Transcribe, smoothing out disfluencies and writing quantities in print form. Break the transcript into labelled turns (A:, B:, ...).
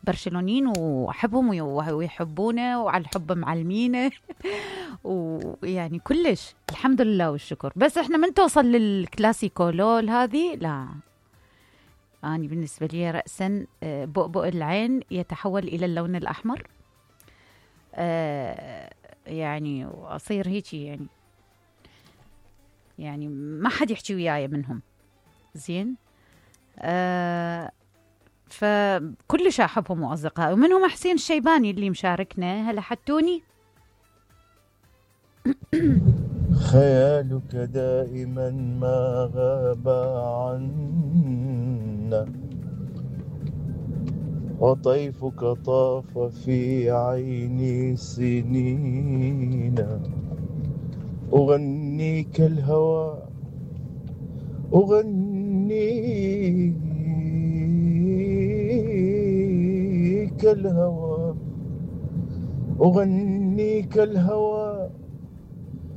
A: برشلونيين واحبهم ويحبونه وعلى الحب معلمينه ويعني كلش الحمد لله والشكر. بس احنا من توصل للكلاسيكو لول هذه لا، أنا بالنسبة لي رأسا بؤبؤ العين يتحول إلى اللون الأحمر، يعني وأصير هيك يعني ما حد يحكي وياي منهم زين. فكلش أحبهم وأصدقائي، ومنهم حسين الشيباني اللي مشاركنا. هلا حتوني.
B: خيالك دائما ما غاب عنا، وطيفك طاف في عيني سنين، أغنيك الهوى أغنيك الهوى